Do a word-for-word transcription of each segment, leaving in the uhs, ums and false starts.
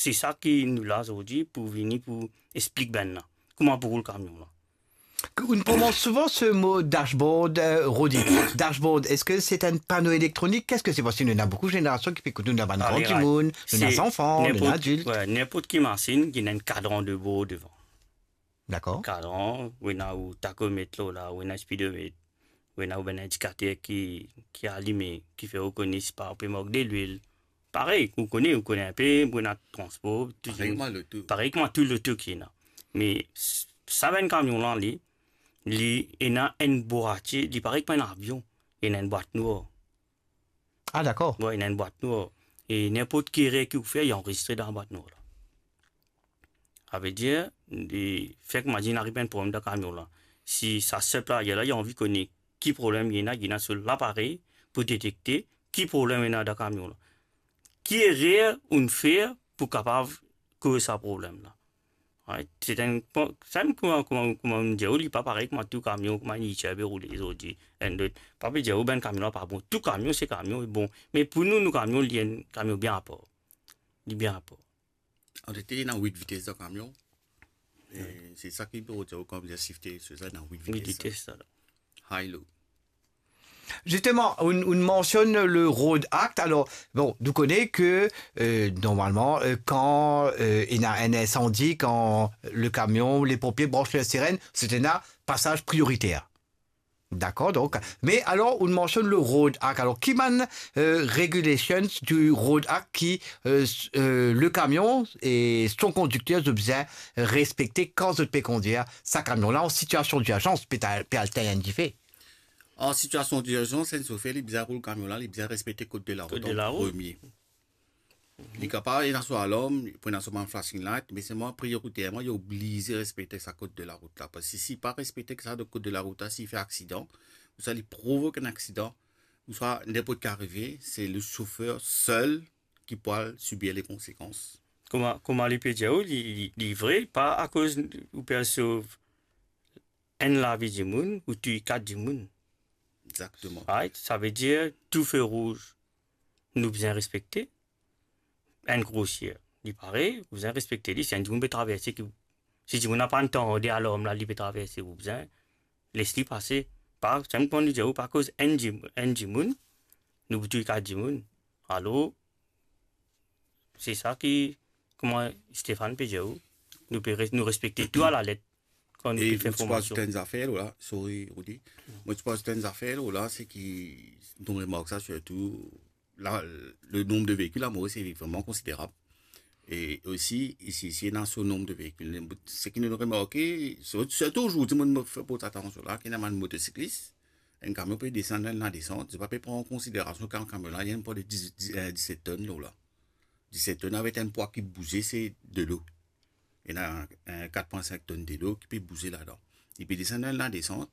Se sa ki nou la zordi pou vini pou explik bann la kouma pou roul kamion la. Ou prononse souvan se mo dashboard, euh, Rodi. Dashboard, eski se enn pano elektronik? Ki se ki se pase? Nou ena boukou zenerasion ki pe ekout nou, nou ena bann gran dimoun, nou ena zanfan, nou ena adilt. Ninport ki masinn ki ena enn kadran de bord devan. Dakor. Kadran, ou ena ou takomet la, ou ena speedomet, ou ena ou bann indikater ki, ki alime, ki fer ou kone si pa ou pe mank delwil. Parey, ou kone, ou kone inpe, ou ena transpor, tou, parey kouma loto, parey kouma tou loto ki ena. Me s-, sa bann kamion la, li, li ena enn bwat, li parey kouma enn avion, li ena enn bwat nwar. Ah, dakor. Wi, ena enn bwat nwar. E ninport ki erer ki ou fer, li anrezistre dan bwat nwar la. Savedir, li, fek mwa dir inn ariv enn problem dan kamion la. Si sa sep la, li la, li anvi kone ki problem li ena, li ena so laparey pou detekte ki problem ena dan kamion la. Ki erer ou'nn fer pou kapav koz sa problem la? Right? Se enn, sa enn kouma, kouma, kouma mo dir ou, li pa parey kouma tou kamion, kouma enn Uber pe roule zordi, enn lot. Pa pe dir ou bann kamion la pa bon. Tou kamion, se kamion, e bon. Me pou nou, nou kamion, li enn kamion bien apar. Li bien apar. An realite, ena wit vites dan kamion. E se sa ki pe dir ou kan bizin sifte, se sa, ena wit vites. Wit vites, sa la. High, low. Zisteman, ou, ou mansionn le Road Act. Alor, bon, nou kone ke, euh, normalman, euh, kan, euh, ena enn insandi, kan le kamion, le ponpie branch le sirenn, se ena pasaz prioriter. Dakor, donk. Me alor, ou mansionn le Road Act. Alor, ki bann, euh, regulations du Road Act ki, euh, s-, euh, le kamion e son kondikter zot bizin respekte kan zot pe kondir sa kamion la an sitiasion dirzans, pe ta-, pe al tegn enn dife? An sitiasion dirzans, enn sofer, li bizin roul kamion la, li bizin respekte kod de larout an premie. Kod de larout. Li kapav ena so alarm, pou ena so bann flashing light, me selman prioriterman, li oblize respekte sa kod de larout la. Parski si li pa respekte sa kod de larout la, si li fer aksidan, ouswa li provok enn aksidan, ouswa ninport ki arive, se le sofer sel ki pou al sibir le konsekans. Kouma, kouma li pe dir ou, li, li, li vre, pa akoz ou pe al sov enn lavi dimoun, ou touy kat dimoun. Exakteman. Right? Savedir, tou fe rouz, nou bizin respekte. Enn krosier, li parey, ou bizin respekte li. Si enn dimoun pe traverse, ki, si dimoun la pa'nn tande alarm la, li pe traverse, ou bizin les li pase. Pa, sa mo konn dir ou, pa akoz enn dim-, enn dimoun, nou pou touy kat dimoun. Alor, se sa ki, kouma Stéphane pe dir ou, nou pe res-, nou respekte tou alalet kan nou pe fer formasion. E mo ti pou azout enn zafer la, sorry, Rodi. Mo ti pou azout enn zafer la, se ki, nou remark sa sirtou, la, le nombre de véhicules à Maurice est vraiment considérable. E osi, isi, isi, ena so nombre de véhicules. Seki nou remarke, sir-, sirtou zordi, mo, mo fer bokou atansion la, ki ena bann motosiklis, enn kamion pe desann, enn la desant, zot pa pe pran an konsiderasion ki kamion la, li ena enn pwa de diz, diz, eh, diset tonn, la. Diset tonn avek enn pwa ki bouze, se delo. Ena, eh, kat pwin sink tonn delo ki pe bouze ladan. Li pe desann enn la desant,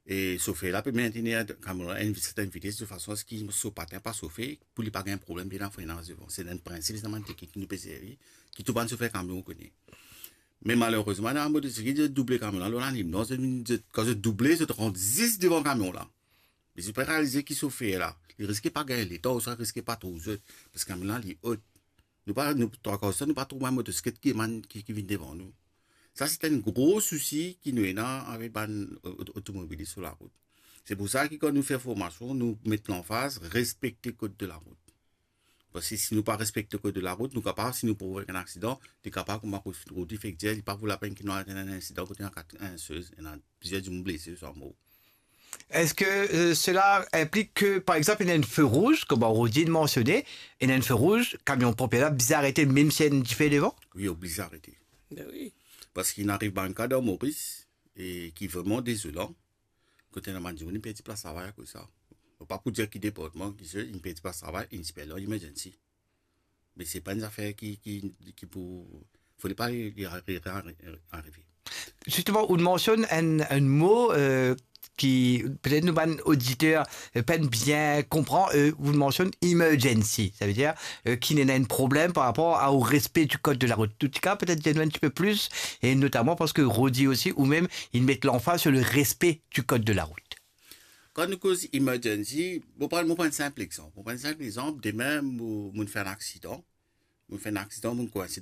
e sofer la pe mentenir kamion la enn vi-, sertenn vites de fason aski so patin pa sofe, pou li pa gagn problem de lafrenaz devan. Se enn prinsip, se enn teknik ki nou pe servi, ki tou bann sofer kamion kone. Me malerezman, ena motosiklis, zot double kamion la, lor lalimnan, zot, zot, kan zot double, zot rant zis devan kamion la. Me zot pa realize ki sofer la, li riske pa gagn letan, ouswa riske pa trouv zot, parski kamion la, li ot. Nou pa, nou, trwa kar di tan, nou pa trouv bann motosiklet ki, ki, ki vinn devan nou. Sa, se enn gro sousi ki nou ena avek bann o-, o-, otomobilis lor larout. Se pou sa ki, kan nou fer formasion, nou met lanfaz, respekte kod de larout. Parski si nou pa respekte kod de larout, nou kapav, si nou provok enn aksidan, li kapav, kouma Rodi fek dir, li pa vo lapenn ki nou al antann enn insidan kot ena kat, enn sez, ena plizier dimoun blese, swa mor. Eski, euh, sela inplik ki, par exanp, ena enn fe rouz, kouma Rodi mansione, ena enn fe rouz, kamion ponpie la bizin arete, mem si ena enn dife devan? Wi, oblize arete. Be wi. Parski inn ariv bann ka dan Moris, e ki vreman dezolan, kot ena bann dimoun inn perdi plas travay akoz sa. Mo pa pou dir ki departman, ki se, inn perdi plas travay, inn ti pe al dan emergency. Me se pa enn zafer ki, ki, ki pou, fode pa li, li ari-, ari-, arive. Zisteman, ou mansionn enn, enn mo, euh, ki petet nou bann oditer, euh, pa'nn bien konpran, euh, ou mansionn emergency. Savedir, euh, ki ena enn problem par rapor a, o respe di kod de larout. An tou ka, petet dir nou enn tipe plis, e notaman parski Rodi osi, ou mem, inn met lanfaz sir le respe di kod de larout. Kan nou koz emergency, mo pran, mo pran enn sinp exanp. Mo pran enn sinp exanp, demin, mo, mo'nn fer enn aksidan. Mo fer enn aksidan, mo koinse